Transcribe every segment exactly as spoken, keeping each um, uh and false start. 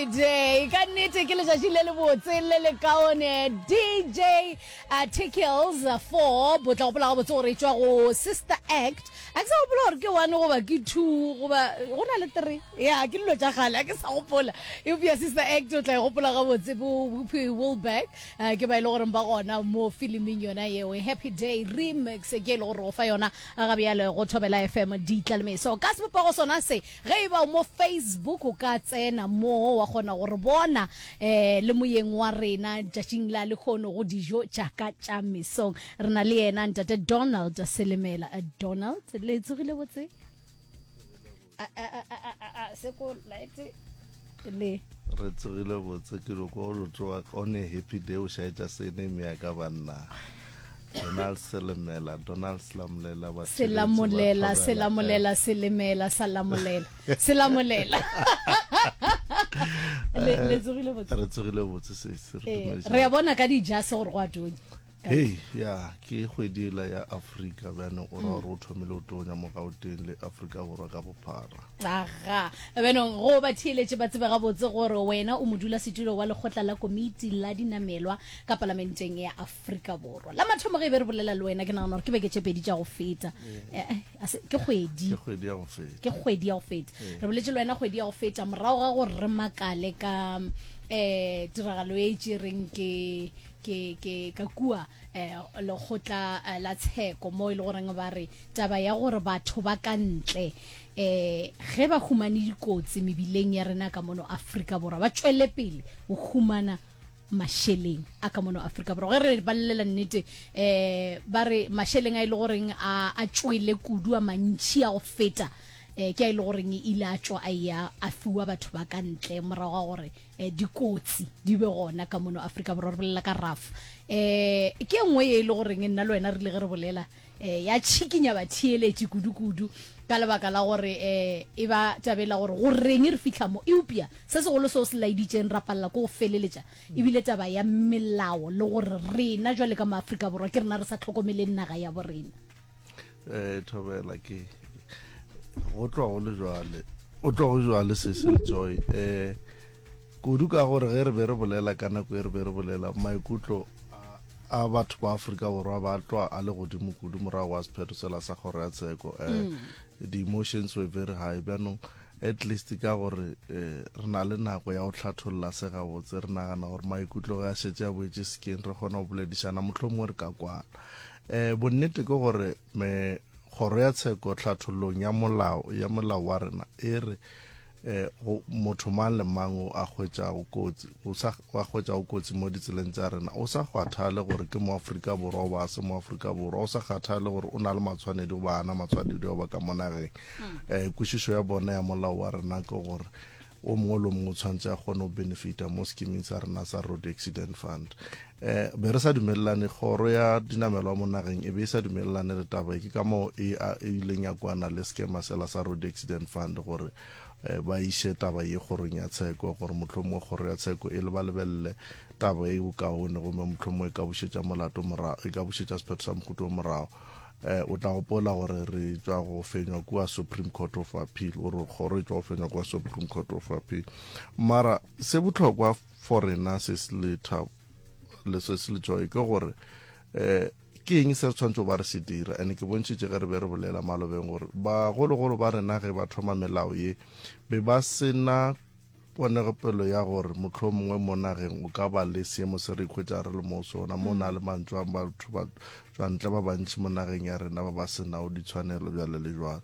Day ka nnete ke letšatši le lebotse le le kaone. D J uh, Tickles four bo tla gopola gabotse gore e tšwa go Sister Act. A ke sa gopola gore ke one goba ke two goba go na le three. Ya ke dilo tša kgale, a ke sa gopola, eupša Sister Act o tla e gopola gabotse. Bo Whoopi Goldberg uh, ke ba e le goreng ba gona mo filiming yona yeo. Happy Day remix ke e le gore go fa yona ga bjale go Thobela F M Ditlalemeso ka sebopego sona se. Ge e ba o mo Facebook, o ka tsena mo wa kgona gore bona um le moyeng wa rena tšatšing la lekgono go Dijo tšaka tša Mesong. Re na le yena ntate Donald Selemela. Eh, Donald, le tsogile botse? A- a- a- a- a- a- seko light le Re tsogile botse. Ke re ko lo tsoga on a happy day, o šaetša sene ya ka banna. Donald Selemela, Donald Selamolela ba. Selamolela, Selamolela, Selemela, Salamolela, Selamolela. le le tsogile botse? Re tsogile botse se se re Eh, dumediša. Re a bona ka dijase gore go a tonya. Hei ya, ke kgwedi ela ya Afrika bjanong, o ra gore o thomile o tonya mo Gauteng le Afrika Borwa ka bophara. Aga, benong go ba theeletše ba tsebe gabotse gore wena o modulasetulo wa lekgotla la komiti la dinamelwa ka palamenteng ya Afrika Borwa. La mathomo ge e be re bolela le wena, ke nagana gore ke beke tše pedi tša go feta. Eh, eh, a se- ke kgwedi. Ke kgwedi ya go feta. Ke kgwedi ya go feta. Re boletse le wena kgwedi ya go feta morago ga gore re makale ka um tiragalo e tšereng ke ke ke ka kua eh lekgotla eh, la tsheko, mo e le goreng ba re taba ya gore batho ba ka ntle eh ge ba humane dikotsi mebileng ya rena ka mono Afrika Borwa ba tšwele pele go humana mašeleng a ka mono Afrika Borwa. Ge re balela nnete, um ba re mašeleng a e le goreng a a tšwele kudu, a mantšhi a go feta, um ke a e le goreng e ile a tšwa a ya a fiwa batho ba ka ntle morago ga gore um dikotsi di be gona ka mono Afrika Borwa. Re bolela ka R A F. um ke e nngwe ye e le goreng nna le wena re ile ge re bolela um ya tšhikinya batheeletši kudu-kudu ka lebaka la gore um e ba tabela gore go reng re fitlha mo, eupša se segolo seo se laeditšeng ra palela ko go feleletša ebile taba ya melao le gore rena jwale ka mo Afrika Borwa ke rena re sa tlhokomeleng naga ya bo rena. um thobela, ke go tloga go le jwale, o tloga go jwale se se Joy, um kudu ka gore ge re be re bolela ka nako e re be re bolela, maikutlo a a batho ba Afrika Borwa ba tloa a le godimo kudu morago wa sephetho sela sa kgoro ya tsheko. um the emotions were very high. Bjanong at least ka gore um re na le nako ya go tlhatholla se gabotse, re nagana gore maikutlo ge a šetse a boetse sekeng, re kgona go boledišana, motlho mongwe re ka kwana. um bonnete ke gore me kgoro ya tsheko tlhathollong ya molao ya molao wa rena e re eh go motho mang le mang o a hwetšago kotsi, o sa wa hwetšago kotsi mo ditseleng tša rena, o sa kgathale gore ke mo Afrika Borwa goba a se mo Afrika Borwa, o sa kgathale gore o na le matshwanedi goba ana matshwanedi goba ka mo nageng, um kwešišo ya bona ya molao wa rena ke gore o mongwe le o mongwe o tshwanetse a kgone go benefita mo scheming sa rena sa Road Accident Fund. um be re sa dumelelane, kgoro ya dinamelwa mo nageng e be e sa dumelelane le taba e. Ke ka moo e e ileng ya kwana le schema sela sa Road Accident Fund gore um ba iše taba ye kgorong ya tsheko, gore mohlomongwe kgoro ya tsheko e le ba lebelele taba e bokaone, gomme mohlomongwe e ka bušetša molato morago, e ka bušetša sephetho sa mohuta o morago. um o tla gopola gore re tšwa go fenywa kua Supreme Court of Appeal, gore kgoro e tšwa go fenywa kua Supreme Court of Appeal. Mara se bohlokwa for rena se se le thabo le se se le Joy ke gore um ke eng se re tshwanetse ba re se dira. And ke bontšhitše ge re be re bolela malobeng gore bagologolo ba rena ge ba thoma melao ye be ba sena ponegopelo ya gore motlho mongwe mo nageng o ka ba le seemo se re ikhwetša re le mo sona, mo na le mantswe a batho ba tswantle ba bantši mo nageng ya rena ba ba senago ditshwanelo bjale le jwalo.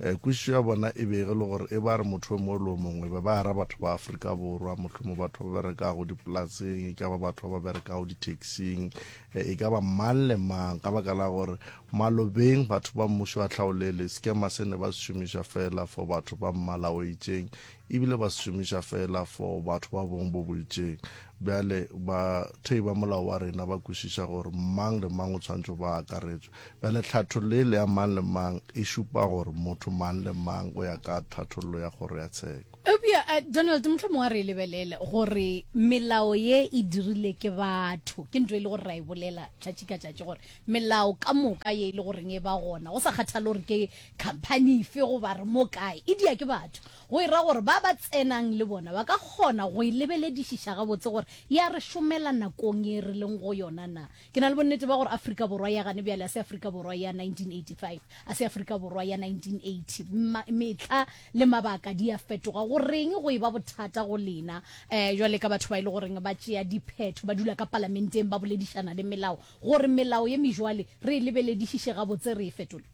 um kwešišo ya bona e be e le gore e ba re motho o mongwe le o mongwe be ba ara batho ba Afrika Borwa, mohlomong batho ba berekago dipolaseng, e ka ba batho ba ba berekago di-taxing, e ka ba mang le mang, ka baka la gore malobeng batho ba mmušo wa tlhaolele sekema se ne ba se šomiša fela for batho ba mmala o itšeng, ebile ba se šomiša fela for batho ba bong bo bo itšeng. Bjale bathei ba molao wa rena ba kwešiša gore mang le mang o tshwanetše go ba akaretšwe. Bjale tlhathollo yele ya mang le mang e šupa gore motho mang le mang go ya ka tlhathollo ya kgoro ya tsheko. Eupša, Donald, mohlomongwe a re e lebelele gore melao ye e dirile ke batho. Ke ntho e le gore ra e bolela tšatši ka tšatši gore melao ka moka ye e le goreng e ba gona, go sa kgathale gore ke khamphani efe goba re mo kae, e dia ke batho. Go e ra gore ba ba tsenang le bona ba ka kgona go e lebeledišiša gabotse gore ya re šomela nakong ye re leng go yona na. Ke na le bonnete ba gore Afrika Borwa ya gane bjale a se Afrika Borwa ya nineteen eighty-five, a se Afrika Borwa ya nineteen eighty. Ma, mehla le mabaka di a fetoga. Go reng go e ba bothata go lena um jwale ka batho ba e le goreng ba tšea diphetho, ba dula ka palamenteng ba boledišana le melao, gore melao ye mejwale re e lebeledišiše gabotse re e fetole?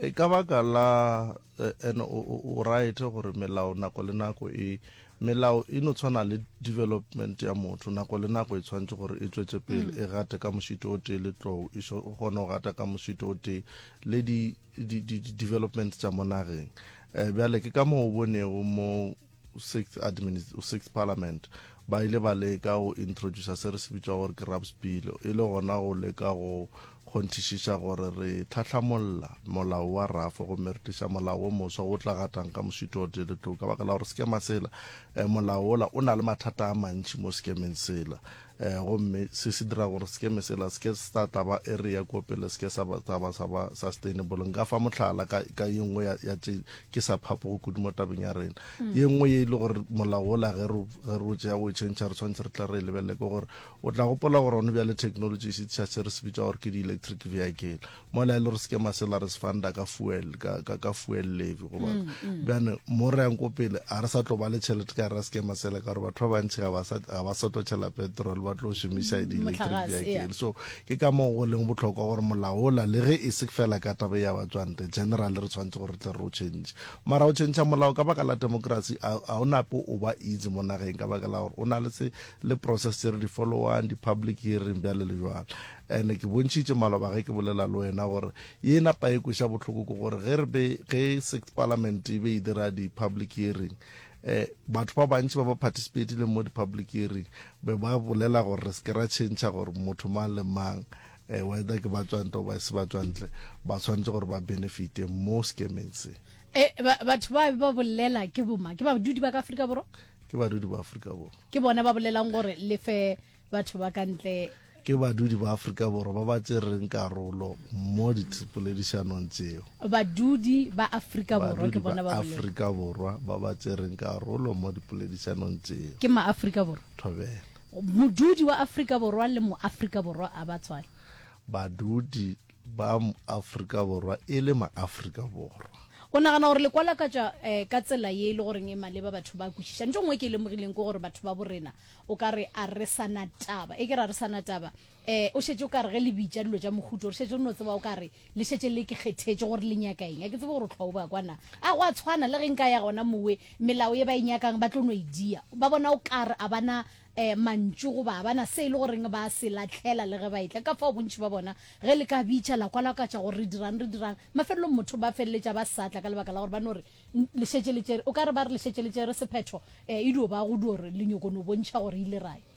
E ka baka la and o o right gore melao nako le nako e melao e no tshwana le development ya motho, nako le nako e tshwanetse gore e tswetse pele, e gate ka mošito o tee le tlou, e kgone go gata ka mošito o tee le di di di development tša mo nageng. Eh, bjale ke ka moo o bonego mo sixth administ sixth parliament ba ile ba leka go introducer se re se bitša gore ke RAPS bill, e le gona go leka go kgonthišiša gore re tlhahlamolla molao wa R A F gomme re tliša molao wo moswa o tla gatang ka mošito o tee le tlou, ka baka la gore sekema sela eh, molao wola o na le mathata a mantši mo sekemeng sela, eh, gomme se se dira gore sekeme sela se ke sa tla ba area ko pele, se ke sa ba, sa ba, sa ba sustainable. Nka fa mohlala ka, ka ye nngwe ya, ya tše ke sa phapogo kudu mo tabeng ya rena. Ye nngwe ye e le gore molao wola ge re, ge re o tšea o e change, re tshwanetse re tla re e lebelele, ke gore o tla gopola gore gone bjale technology e šetša se re se bitša gore ke di-electric vehicle, mola e le gore sekema sela re se funda ka fuel, ka, ka, ka fuel levy goba bjane mo re yang ko pele a re sa tlo ba le tšhelete ka ra sekema sela, ka gore batho ba bantši ga ba sa, ga ba sa tlo tšhela petrol, ba tlo šomiša di-electric Mohlagase, yeah. vehicle. So ke ka moo go leng bohlokwa gore molao ola le ge e se fela ka taba ya batswantle general re tshwanetse gore re tle re o change. Mara o change molao ka baka la democracy a, a o nape o ba easy mo nageng, ka baka la gore o na le se le process tse re di followang, di-public hearing bjale le jwalo. And ke bontšhitše maloba ge ke bolela le wena gore ye napa e kweša bohloko ke gore ge re be ge sixth parliament e be e dira di-public hearing, eh batho ba bantši ba ba participatileng mo di-public hearing be ba bolela gore re se ke ra change gore motho mang le mang eh whether ke batswantle goba e se batswantle ba tshwanetse gore ba benefite mo sekemeng se. E, ba, batho ba ba bolela ke boma, ke badudi ba ka Afrika Borwa? Ke badudi ba Afrika Borwa. Ke bona ba bolelang gore lefe batho ba ka ntle. Ke badudi ba Afrika Borwa ba ba tsereng karolo mo dipoledišanong tseo. Badudi ba Afrika Borwa Badudi ke bona ba ba bolela. Afrika Borwa ba ba tsereng karolo mo dipoledišanong tseo. Ke ma Afrika Borwa. Thobela. Modudi wa Afrika Borwa le mo Afrika Borwa a ba tshwane. Badudi ba Afrika Borwa e le ma Afrika Borwa. O nagana gore le kwalakatša eh, ka tsela ye e le goreng e maleba batho ba kwešiša. Ntho nngwe ke e lemogileng ke gore batho ba borena o ka re a re sana taba, e ke re a re sana taba, eh o šetše o ka re ge le bitša dilo tša mohuto, re šetše re no tseba o ka re le šetše le ke kgethetše gore le nyaka eng. A ke tsebe gore o tlhwa o ba kwana. A go a tshwana le ge nka ya gona mowe, melao ye ba e nyakang ba tlo no e dia. Ba bona o ka re a bana eh mantšu goba bana se e le goreng ba se latlhela le ge ba etla. Ka fao bontši ba bona ge le ka bitša la kwalakatša gore re dirang re dirang, mafelelong motho ba feleletša ba sa tla ka lebaka la gore ba no re le šetše le tšere, o ka re ba re le šetše le tšere sephetho eh e dio ba go dio re le nyoko no bontšha gore ile ra ya.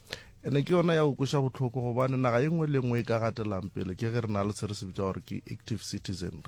Ene ke yona ya go kweša bohloko gobane naga e nngwe le nngwe e ka gatelang pele ke ge re na le se re se bitša gore ke active citizenry.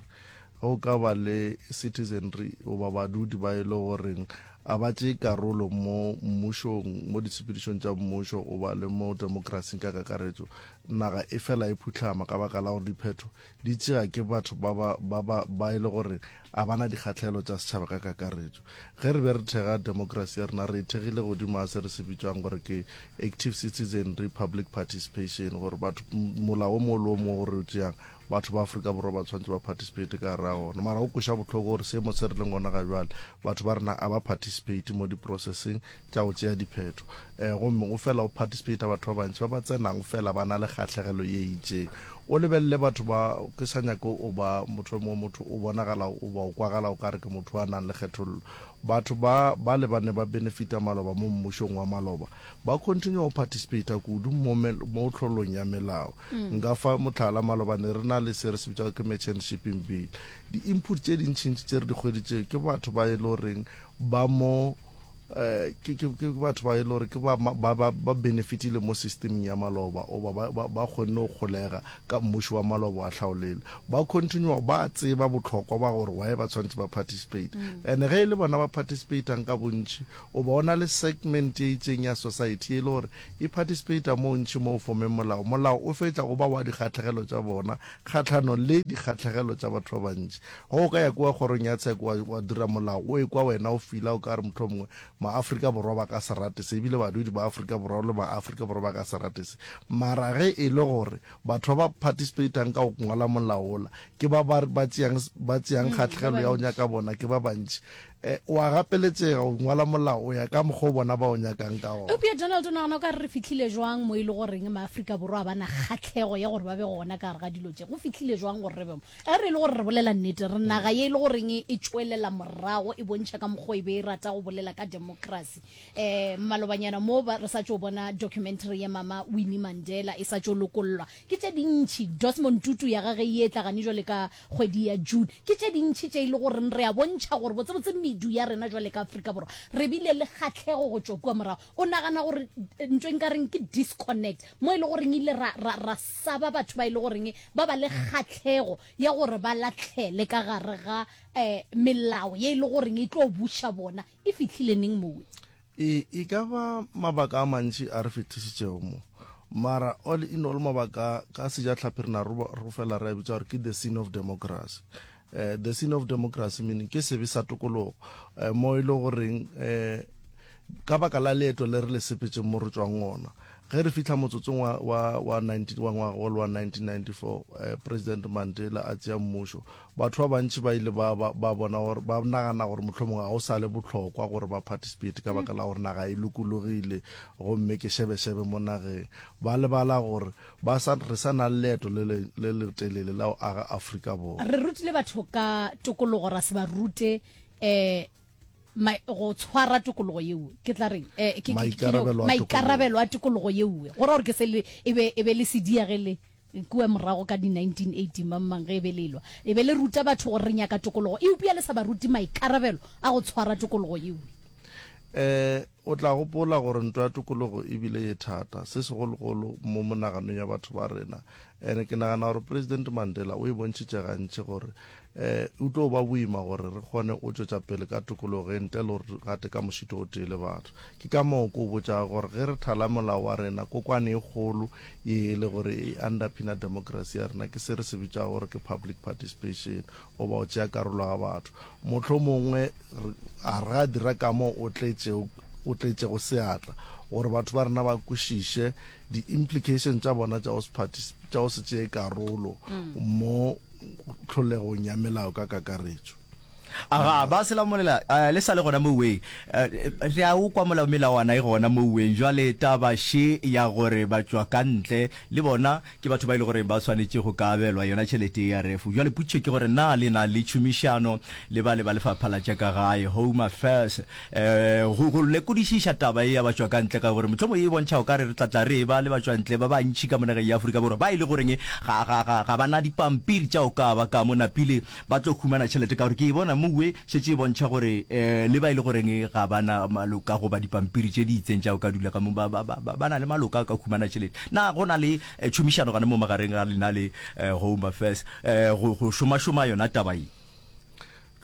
Ge o ka ba le citizenry goba badudi ba e le goreng a ba tšee karolo mo mmušong, mo ditshepedišong tša mmušo goba le mo demokrasing ka kakaretšo, naga e fela e phuhlama ka baka la gore diphetho di tšea ke batho ba ba ba ba ba e le gore a bana dikgahlelo tša setšhaba ka kakaretšo. Ge re be re thega demokrasi ya rena, re e thegile godimo ga se re se bitšwang gore ke active citizenry public participation, gore batho molao o mongwe le o mongwe gore o tšeang batho ba Afrika Borwa ba tshwanetse ba participate ka gare ga ona. Mara go kweša bohloko gore seemo se re leng gona ga jwale batho ba rena a ba participate mo di-processing tša go tšea diphetho, eh gomme go fela go participate batho ba bantši ba ba tsenang fela ba na le kgahlegelo ye itšeng. O lebelele batho ba, ke sa nyake o ba motho mo motho o bonagala o ba o kwagala o kare ke motho a nang le kgethollo. Batho ba ba le ba ne ba benefita maloba mo mmušong wa maloba ba continue go participate kudu mo mo tlholong ya melao. Nka fa mohlala, maloba ne re na le se re se bitšago ke merchant shipping bill. Di-input tše dintšintši tše re di hweditše ke batho ba e le goreng ba mo eh ke ke ke batho ba e le gore ke ba ba ba ba benefitile mo systemeng ya maloba oba ba ba ba kgonne go kgolega ka mmušo wa maloba wa tlhaolele ba continue ba tseba bohlokwa ba gore why ba tshwanetse ba participate and ge e le bona ba participatang ka bontši o ba o na le segment e itseng ya society e le gore e participata mo ntši mo o fomeng molao molao o fetša go ba wa dikgatlhegelo tša bona kgatlhanong le dikgatlhegelo tša batho ba bantši go o ka ya kua kgorong ya tsheko wa, wa dira molao o ekwa wena o fila o ka re mohlomongwe maafrika borwa ba ka se rate se ebile badudi ba Afrika Borwa le maafrika Borwa ba ka se rate se mara ge e le gore batho ba ba participatang ka go ngwala molao ola ke ba ba ba tšeang ba tšeang Mm, ba kgatlhegelo ya go bantši. nyaka bona ke ba bantši eh, o a gapeletšega go ngwala molao o ya ka mokgwa o bona ba o nyakang ka gona eupša donald o nagana o ka re re fihlile jwang mo e le goreng maafrika borwa a ba na kgatlhego ya gore ba be gona ka gare ga dilo tše go fihlile jwang gore re be mo ge re e le gore re bolela nnete re naga ye e le goreng e tšwelela morago e bontšha ka mokgwa e be e rata go bolela ka democracy um malobanyana mo ba re sa tšo bona documentary ya mama winnie mandela e sa tšo lokollwa ke tše dintšhi desmond tutu ya gage e etla gane jwale ka kgwedi ya june ke tše dintšhi tše e le goreng re a bontšha gore botsebotse medu ya rena jwale ka afrika borwa re bile le kgatlhego go tšwa kua morago o nagana gore eh, ntho e nkareng ke disconnect mo e le goreng ile ra, ra, ra saba batho ba e le goreng ba ba le kgatlhego ya gore ba latlhele ka gare ga um melao ye e le goreng e tlo buša bona e fihlile neng mowe e e ka ba mabaka a mantši a re fetišitšego mo mara all in all mabaka ka sejatlhapi re na re fela re a bitša gore ke the sin of democracy uh, the sin of democracy meaning ke sebe sa tokologo uh, mo e le goreng um ka baka la leeto le re le sepetseng mo re tswang ona ge re fitlha motsotsong wa, wa, wa, nineteen wa ngwaga wa wa nineteen ninety-four eh, president mandela a tšea mmušo batho ba bantši ba ile ba, ba, ba bona gore ba nagana gore mohlomongwe ga o sa le bohlokwa gore ba participate ka baka la gore naga e lokologile gomme ke šebešebe mo nageng ba lebala gore ba sa, re sa na le leeto le le le letelele la go aga Afrika Borwa re rutile batho ka tokologo ra se ba rute um go tshwara tokologo yeo ke tla reng eh, ke- ke- ke- Maikarabelo a maikarabelo a tokologo yeo go ra gore ke se le e be e be le sedia ge le kua morago ka di nineteen eighty mang ge e be le lwa e be le ruta batho gore re nyaka tokologo eupša le sa ba rute maikarabelo a go tshwara tokologo yeo eh o tla gopola gore ntwa ya tokologo ebile ye thata se segologolo mo monaganong ya batho ba rena ene ke nagana gore president mandela o e bontšhitše gantši gore eh o tlo ba boima gore re kgone go tšwetša pele ka tokologo e ntle le gore re gate ka mošito o tee le batho ke ka moo ko botšago gore ge re thala molao wa rena kokwane e kgolo ye e le gore e underpina democracy ya rena ke se re se bitšago gore ke public participation goba go tšea karolo ga batho mohlomongwe a re ga dira ka moo o tletšego o tletšego seatla gore batho ba rena ba kwešiše di-implication tša bona tša go se tša go se tšee karolo mo tlholegong ya melao ka kakaretšo aga ba selamolela uh, le sa le gona moweng uh, re a o kwa molao melawana e gona moweng jwale taba še ya gore ba tšwa ka ntle le bona ke batho ba ile gore ba swanetše go ka abelwa yona tšhelete ya ref jwale potšišo ke gore na le na le tšhomišano le ba le ba lefapha la tša ka gae home affairs eh go go lekodišiša taba e ya ba tšwa ka ntle ka gore mohlomong e bontšha o ka re re tla tla re ba le ba tšwa ntle ba bantši ka mo nageng ya Afrika Borwa ba ile goreng ga ga ga ga bana dipampiri tša o ka ba ka mo napile ba tlo humana tšhelete ka gore ke e bona mowe šetše e bontšha gore eh le ba ile goreng ga bana maloka goba dipampiri tše di itseng tša o ka dula ka mo ba ba ba ba na le maloka a ka humana tšhelete na go na le eh, tšhomišano gane mo magareng ga lena le eh, home affairs eh, go go šomašoma yona taba ye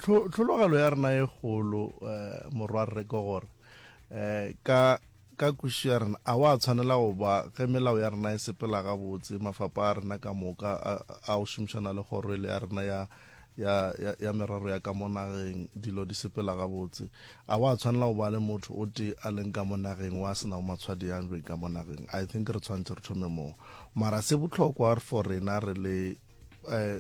Tlho- tlhologelo ya rena e kgolo eh, morwarre ke gore eh, ka ka kwešišo ya rena a wa tshwanela go ba ge melao ya rena e sepela gabotse mafapa a rena ka moka a a go šomišana le kgoro ele ya rena ya ya ya ya merero ya ka mo nageng dilo di sepela gabotse a wa tshwanela go ba le motho o tee a leng ka mo nageng wa se nago matshwadi a beng ka mo nageng i think re tshwanetse re thome moo mara se bohlokwa for rena re le eh,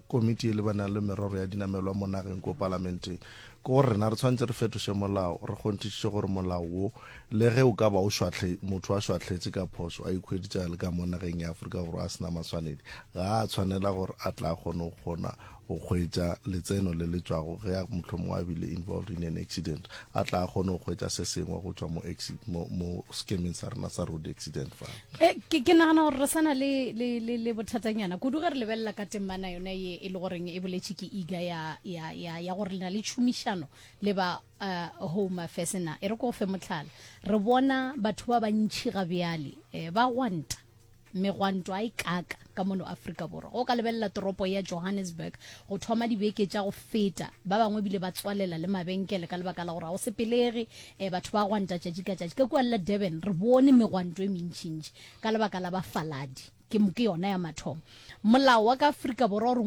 komiti e lebanang le merero ya dinamelwa mo nageng ko palamenteng ke gore rena re tshwanetse re fetoše molao re kgonthišiše gore molao wo le ge o ka ba o šwahle motho a šwahletše ka phošo a ikhweditše a le ka mo nageng ya Afrika Borwa a sena maswanedi ga a tshwanela gore a tla kgone go kgona go hwetša letseno le le tšwago ge a mohlomongwe a bile involved in an accident, a tla a kgone go hwetša se sengwe go tšwa mo, mo, mo sekemeng sa rena sa Road Accident Fund. E, ke, ke nagana gore re sa na le, le, le, le bothatanyana kudu ge re lebelela ka temana yona ye e le goreng e boletše ke I G A ya, ya, ya, ya gore le na le tšhomišano le ba uh, Home Affairs na. E re ko fe mohlala, re bona batho ba bantši ga bjale eh, ba gwanta megwanto a e kaka ka mono Afrika Borwa. Go ka lebelela toropo ya Johannesburg go thoma dibeke tša go feta, ba bangwe bile ba tswalela le mabenkele ka lebaka la gore ga go sepelege, eh, batho ba gwanta tšatši ka tšatši. Ka kua la Durban re bone megwanto e mentšintši ka lebaka la bafaladi, ke, ke yona ya mathomo. Molao wa ka Afrika Borwa o re